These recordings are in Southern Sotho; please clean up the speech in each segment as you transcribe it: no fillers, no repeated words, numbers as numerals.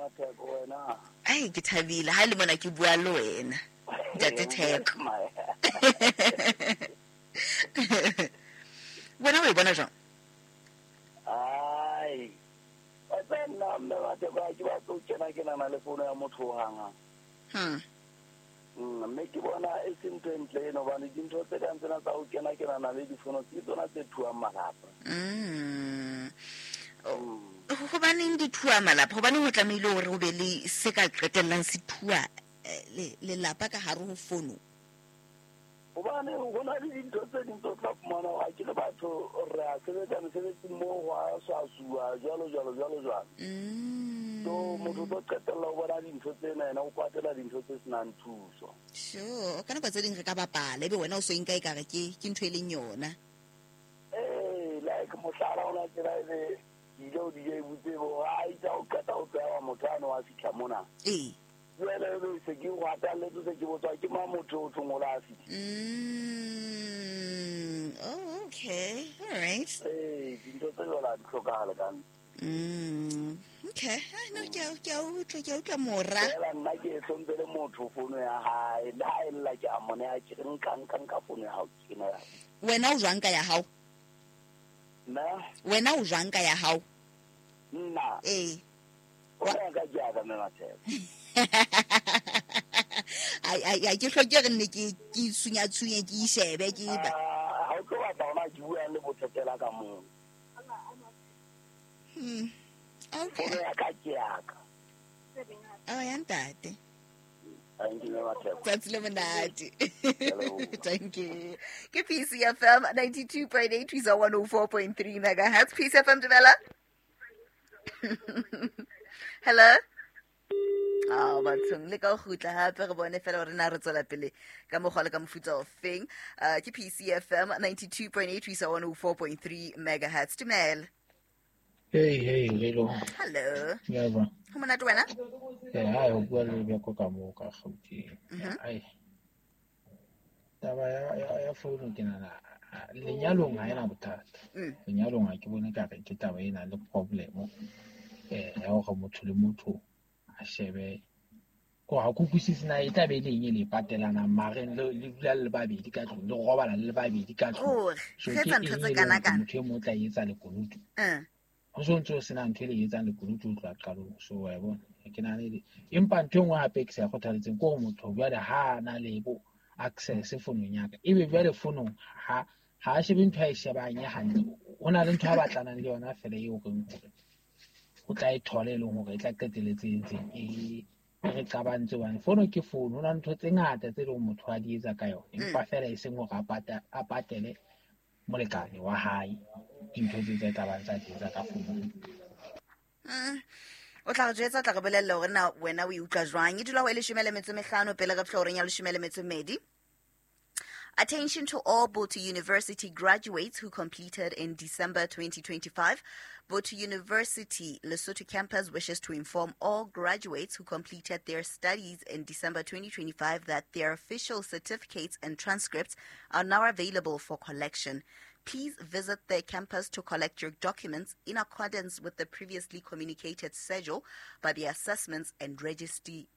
Matheko wena. Ai, ke thabile ha le mona ke bua le wena, ntate Theko. Wena o e bona jwang? Ai. Wa tseba nna mme Matheko ha ke batle ho kena ke nana le fono ya motho hohang. Mme ke bona e se ntho e ntle eno hobane dintho tse kang tsena tsa ho kena ke nana le difono ke tsona tse thuang malapa. Hobaneng di thua malapa? Hobaneng ho tlamehile hore ho be le se ka qetellang se thua lelapa ka hare ho fono? Hobane ho na le dintho tse ding tse o tla fumana hore ha ke le batho re a sebetsa mesebetsing moo ho a swasuwa jwalo jwalo jwalo jwalo. So motho o tlo qetella ho bona dintho tsena yena o kwatela dintho tse senang thuso. Sure, ka nako tse ding re ka bapala ebe wena o so e nka ekare ke ntho e leng yona. Ee, like mohlala ona tsela ebe ke ile ho DJ butse bo a itse o qeta ho tsewa motho ano wa fihla mona. Ee. Jwale ebe se ke go atalletse se ke botswa ke mang motho o thong o la fihla. Oh, okay. All right. Ee, dintho tse jwalo ha di hlokahale ka nna. Okay. Ai, no, ke a utlwa, ke a utlwa mora. Fela nna ke e hlomphele motho fono ya hae. Le ha e lla ke a mo neha, ke re nka, nka, nka fono ya hao, ke ena ya. Wena o jwang ka ya hao? Nna? Wena o jwang ka ya hao? Nna? Ee. O ya ka ke ya ka mme Matheko. Ai, ai, ai, ke hloke re nne ke sunya tshunye, ke ishebe, ke ba. Ha o tlo batla hona ke bua le bothetela ka moo. Okay. Fono ya ka ke ya ka. Oh, ya ntate. Thank you, Matheko. Tsatsi le monate. Hello. Thank you. Ke PCFM 92.8 ho isa 104.3 megahertz. PCFM dumela. Hello. Oh, bathong le ka ho kgutla hape re bone fela hore na re tswela pele ka mokgwa le ka mofuta o feng. Ke PCFM 92.8 ho isa 104.3 megahertz. Dumela. Hey, hey, hello. Hello. Ya ba. Ho monate wena? Hai, ho bua le Beko ka moo ka Gauteng. Ai. Taba ya founu ke nahana lenyalong ha ena bothata. Lenyalong ha ke bone ka re ke taba e nang le problem. Ya hore motho le motho a shebe ko ha ke utlwisise na e tla be e le eng e le patelanang mare le dula le babedi ka tlung, le robala le babedi ka tlung. Hore, So re ke etsa ntho eng tse e leng kana hore kana? motho e mong o tla etsa lekunutu? Ho so ntso sena ntho e le etsang lekunutu ho tloha qalong. So wa e bona, ke nahana e le empa ntho e nngwe hape ke sa e kgothaletseng ke hore motho jwale ha a na le bo access fonong ya ka, ebe jwale fonong ha a shebe ntho a e shebang e hantle. Ho na le ntho a batlanang le yona fela eo reng hore o tla e thola e leng hore e tla qetelletse e ntseng e re qabantse hobane fono ke fono, ho na le ntho tse ngata tse leng motho a di etsa ka yona, empa fela e seng hore a patele molekane wa hae dintho tse tse tla bang tsa di etsa ka fono. O tla re jwetsa, o tla re bolella hore na wena o e utlwa jwang. E dula ho e leshome le metso e mehlano pele re fihla horeng ya leshome le metso e mmedi. Attention to all Botho University graduates who completed in December 2025. Botho University Lesotho campus wishes to inform all graduates who completed their studies in December 2025 that their official certificates and transcripts are now available for collection. Please visit their campus to collect your documents in accordance with the previously communicated schedule by the Assessments and Registry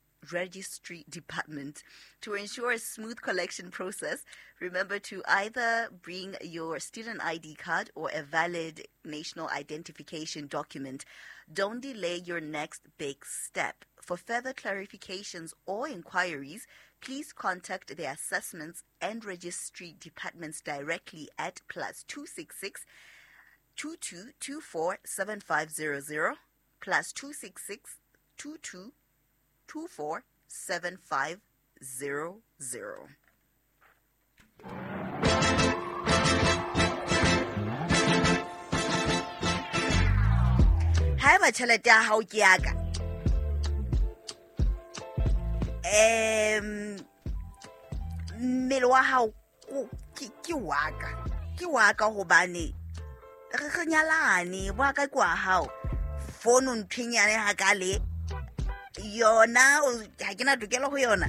Department. To ensure a smooth collection process, remember to either bring your student ID card or a valid national identification document. Don't delay your next big step. For further clarifications or inquiries, please contact the Assessments and Registry Departments directly at +266 2224 7500, +266 22 24 7500. Haeba tjhelete ya hao ke ya ka, mmele wa hao ke wa ka, ke wa ka hobane re nyalane, wa ka ke wa hao. Fono ntho e nyane hakale yona, ha ke na tokelo ho yona.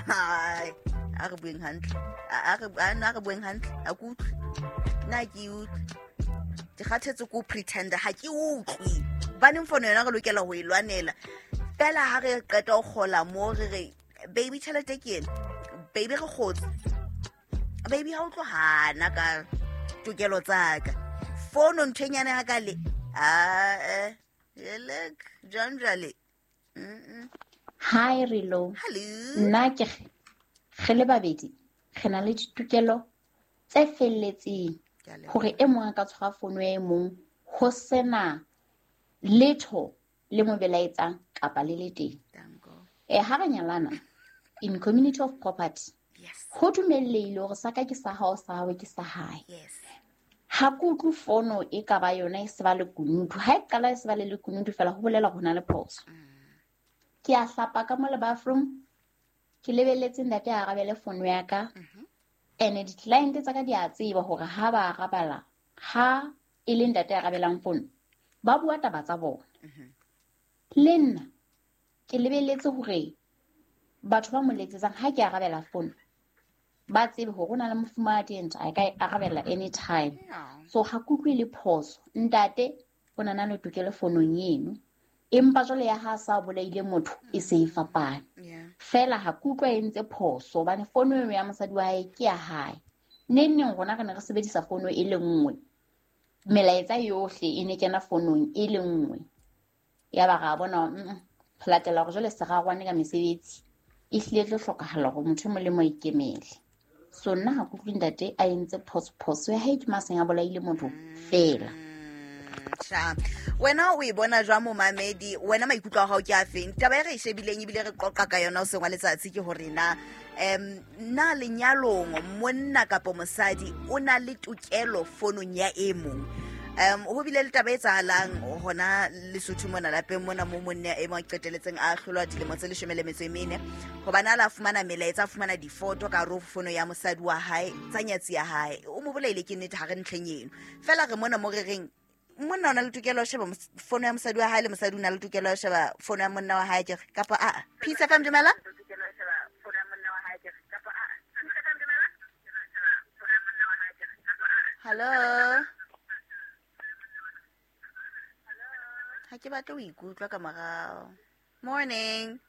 Ai, a re bueng hantle. A re bueng hantle. Ha ke utlwe. Nna ha ke utlwe. Ke kgathetse ke ho pretenda, ha ke utlwe. Hobaneng fono yona re lokela ho e lwanela? Fela ha re qeta ho kgola mo re re baby tjhelete ke ena, baby re kgotse, baby ha o tlo hana ka tokelo tsa ka. Fono nthwenyane ha ka le a elek jwang jwale. Hi Rilo. Hello. Nna ke re le babedi re na le ditokelo tse felletseng hore e mong a ka tshwara fono ya e mong ho sena letho le mo belaetsang kapa le le teng. Ha re nyalana in community of property, ho dumellehile hore sa ka ke sa hao, sa hao ke sa hae. Ha ke utlwe fono e ka ba yona e se ba lekunutu. Ha e qala e se ba le lekunutu fela ho bolela hore ho na le phoso. Ke a hlapa ka mo le bathroom, ke lebelletse ntate a arabele fono ya ka. Ene di-client tsa ka di a tseba hore ha ba arabala, ha e le ntate a arabelang fono, ba bua taba tsa bona. Le nna ke lebelletse hore batho ba mo letsetsang ha ke arabela fono ba tsebe hore ho na le mofumahadi ntse a ka e arabela anytime. So ha ke utlwe le phoso. Ntate o na le tokelo fonong eno, empa jwale ya ha sa bolaile motho e se e fapane. Fela ha ke utlwa e ntse phoso hobane fono eno ya mosadi wa hae ke ya hae. Neng neng rona re ne re sebedisa fono e le nngwe, melaetsa yohle e ne kena fonong e le nngwe. Ya ba ra bona ho latela hore jwale se rarwane ka mesebetsi e hlile tlo hlokahala hore motho e mong le mong a ikemele. So nna ha ke utlwe ntate a entse phoso ya hae ke maseng a bolaile motho fela. Wena o e bona jwang momamedi? Wena maikutlo a hao ke a feng? Taba e re e shebileng ebile re qoqa ka yona hoseng wa letsatsi ke hore na na lenyalong monna kapa mosadi o na le tokelo fonong ya e mong. Ho bile le taba e etsahalang hona Lesotho mona lapeng mona mo monna e mong a qeteletseng a hlolwa dilemo tse 14 hobane a la fumana melaetsa, a fumana difoto ka hare ho fono ya mosadi wa hae tsa nyatsi ya hae. O mo bolaile ke nnete, ha re ntlheng eno. Fela re mona mo re reng monna o na le tokelo ya ho sheba fono ya mosadi wa hae le mosadi o na le tokelo ya ho sheba fono ya monna wa hae, ke re kapa a Peace FM dumela. Hello. Ha ke batle ho ikutlwa ka morao. Morning.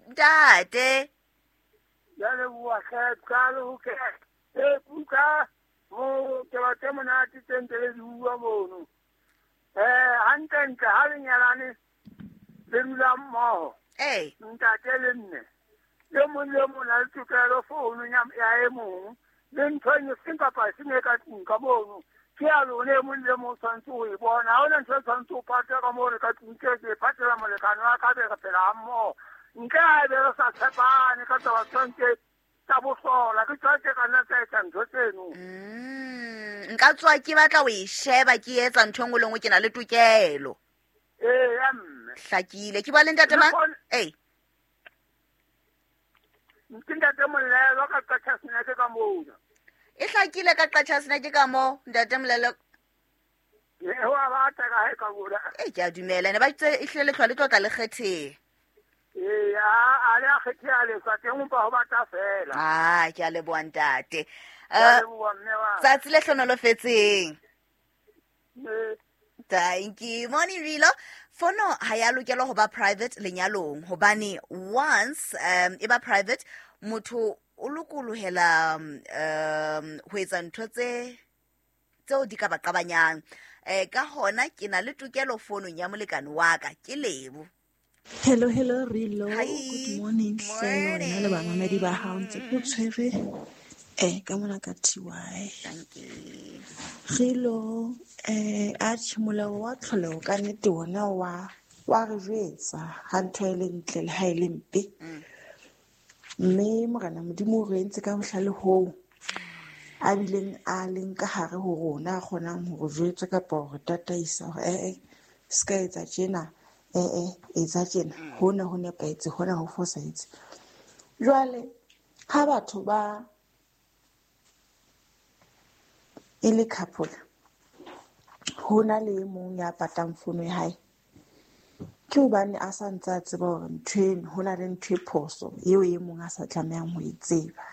Ntate. Ya leboha hle, qale ho ke. E kuka mo ke batla monate tse ntse le di bua mono. Hantle-ntle ha le nyalane le dula mmoho. Ntate le mme. Le mong le mong a le tokelo founu ya e mong. Le ntho e seng kapa e seng e ka tlung ka mono. Ke ya lona e mong le mong o tshwanetse ho e bona. Ha hona ntho e tshwanetse ho patela ka moo re ka tlung ke ke patela molekane wa ka be re phela ha mmoho. Ntle ha ebe re sa tshepane ka taba tshwanetse tsa bohlola, ke tswa ke ka nna tsa etsa ntho tseno. Nka tswa ke batla ho e sheba ke etsa ntho e nngwe le nngwe, ke na le tokelo. Ee, ya mme. Hlakile. Ke bua le ntate mang? Ee. Ke ntate Molelo ka Qachaseneke ka mona. E hlakile ka Qachaseneke ka moo, ntate Molelo. Ee, ho a bata ka hae ka mona. Ee, ke a dumela. Ne ba itse e hlile lehlwa le tlo tla le kgetheha. Ee, a le a kgetheha lehlwa teng, empa ho bata fela. Ah, ke a leboha ntate. Ke a leboha mme wa. Tsatsi le hlonolofetseng. Thank you. Morning Rilo. Fono ha ya lokela ho ba private lenyalong hobane once e ba private motho o lokolohela ho etsa ntho tse tseo di ka ba qabanyang. Ka hona ke na le tokelo fonong ya molekane wa ka, ke Lebo. Hello, hello, Rilo. Hi. Good morning, hle. Wena le bamamedi ba hao ntse ke tshwere ka mona ka TY. Thank you. Rilo, atjhe molao wa tlholeho ka nnete wona wa re jwetsa ha ntho e le ntle le ha e le mpe. Mme Morena Modimo o re entse ka bohlale hoo a bileng a leng ka hare ho rona, a kgonang ho re jwetsa kapa ho re tataisa hore se ka etsa tjena, etsa tjena, hona ho nepahetse, hona ho fosahetse. Jwale ha batho ba e le couple, ho na le e mong ya patang fono ya hae, ke hobane a sa ntse a tseba hore ntho eno, ho na le ntho e phoso eo e mong a sa tlamehang ho e tseba.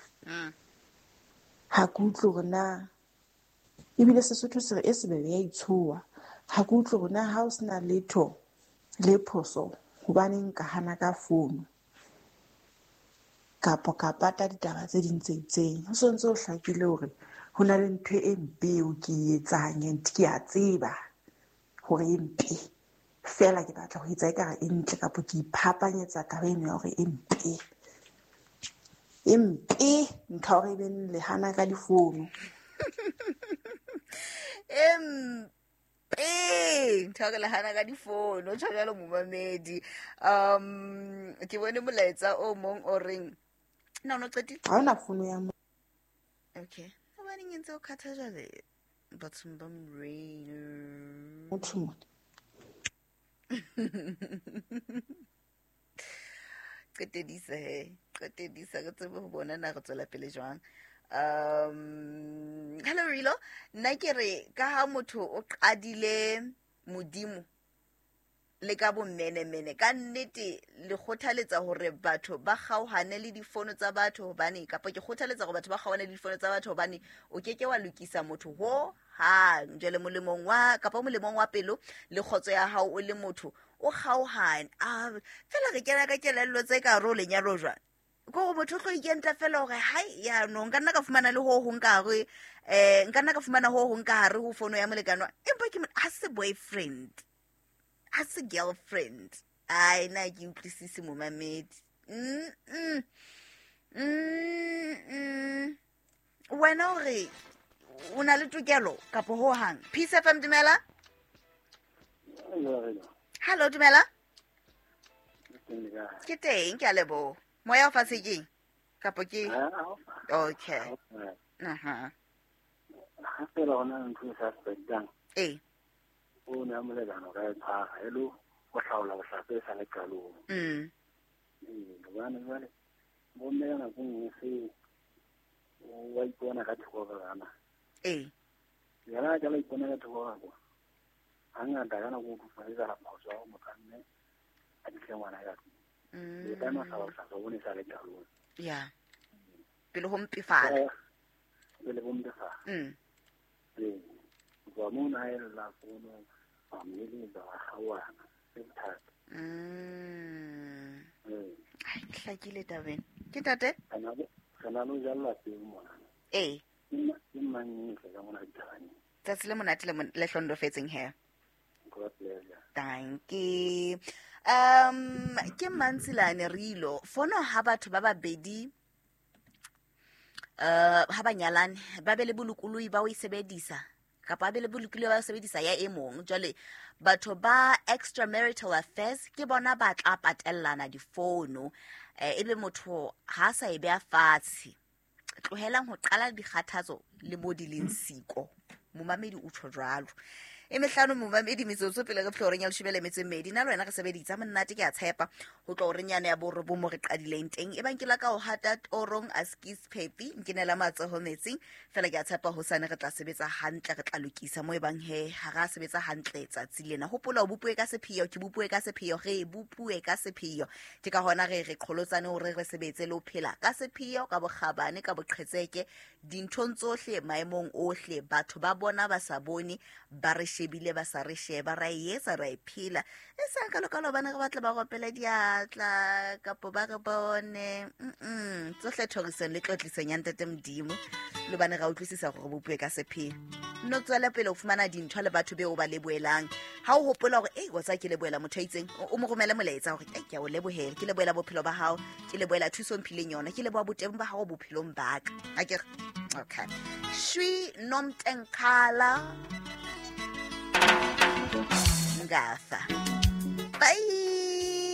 Ha ke utlwe hore na ebile Sesotho se re e sebele ya itshoha. Ha ke utlwe hore na ha o sena letho le phoso hobaneng ka hana ka founu kapa ka pata ditaba tse ding tse itseng. Ho sontse ho hlakile hore ho na le ntho e mpe eo ke e etsang and ke a tseba hore e mpe. Feela ke batla ho etsa ekare e ntle kapa ke iphapanyetsa taba eno ya hore e mpe. E mpe ntho ya hore ebe le hana ka difounu. Empe ntho ya hore le hana ka difounu, o tjho jwalo momamedi. Ke bone molaetsa o mong o reng na o no qetile? Ha hona founu ya mo. Okay. Hobaneng e ntse o khatha jwale bathong ba Morena? Motho mona. Qetedisa he, qetedisa re tsebe ho bona na re tswela pele jwang. Hello Rilo, nna ke re ka ha motho o qadile Modimo le ka bommenemene, ka nnete le kgothaletsa hore batho ba kgaohane le difono tsa batho hobane, kapa ke kgothaletsa hore batho ba kgaohane le difono tsa batho hobane o keke wa lokisa motho ho hang. Jwale molemong wa, kapa molemong wa pelo le kgotso ya hao o le motho o kgaohane. Fela re kena ka kelello tse ka hare ho lenyalo jwang? Ke hore motho o tlo ikentla fela hore hai ya no nka nna ka fumana le ho hong ka hare, nka nna ka fumana ho hong ka hare ho fono ya molekane wa, empa ke ha se boyfriend, ha se girlfriend. Ai na ke utlwisise momamedi. Wena o re o na le tokelo kapa ho hang? Peace FM, dumela. Hello, dumela. Ke teng, ke a leboha. Moya o fatshe keng? Kapa ke? Okay. Aha. Ha fela hona ntho e sa sebetsang. Ee. O ne a molekane o ka e tshwara, e le ho hlaola bohlaswa e sa le qalong. Hobane jwale bomme ka nako e nngwe se wa ipona ka thoko ka bana. Ee. Yena a qala ipona ka thoko ka kwa. Hangata ka nako o tlo etsahala phoso ya hore motho a mme a fihle ngwana ka tlung. E ka no hlaola bohlaswa bo ne sa le qalong. Ya. Pele ho mpefala. Pele ho mpefala. Ee. Ho tloha moo na ella fono, wa mo eletsa, wa kgaohana, ke bothata. Ee. Ai, ke hlakile tabeng. Ke ntate? Re na le ho jalla peo mona. Ee. Ke mang e tle ka mona ditabaneng? Tsatsi le monate le hlondofetseng he. God bless you. Thank you. Ke Mantsilane Rilo. Fono ha batho ba babedi ha ba nyalane ba be le bolokolohi ba ho e sebedisa kapa ba be le bolokolohi ba ho sebedisa ya e mong. Jwale batho ba extramarital affairs ke bona ba tla patellana difono. Ebe motho ha sa e beha fatshe. Tlohelang ho qala dikgathatso le mo di leng siko. Momamedi o tjho jwalo. E mehlano momamedi metsotso pele re fihla horeng ya leshome le metso e mmedi. Nna le wena re sebeditse monate, ke a tshepa ho tloha horeng yane ya borobong mo re qadileng teng. Ebang ke la ka ho hata torong a skis phepi, nkenela matsoho metsing. Feela ke a tshepa hosane re tla sebetsa hantle, re tla lokisa mo ebang he ha ra sebetsa hantle tsatsi lena. Hopola o bopuwe ka sepheo, ke bopuwe ka sepheo, re bopuwe ka sepheo. Ke ka hona re qholotsane hore re sebetse le ho phela ka sepheo, ka bokgabane, ka boqhetseke, dinthong tsohle, maemong ohle. Batho ba bona ba sa bone, ba re shebile ba sa re sheba, ra e etsa, ra e phela. E sang ka lokalo hobane re batla ba ropele diatla kapo ba re bone. Tsohle thorisong le tlotlisong ya Ntate Modimo, le hobane ra utlwisisa hore re bopuwe ka sepheo. Nno tswela pele ho fumana dintho le batho beo ba lebohelang. Ha o hopola hore, ei, wa tseba ke lebohela motho a itseng, o mo romele molaetsa hore, ei, ke a o lebohela, ke lebohela bophelo ba hao, ke lebohela thuso o mphileng yona, ke leboha boteng ba hao bophelong ba ka. Ha ke re? Okay. Shwi Nomtenkhala Ngafa.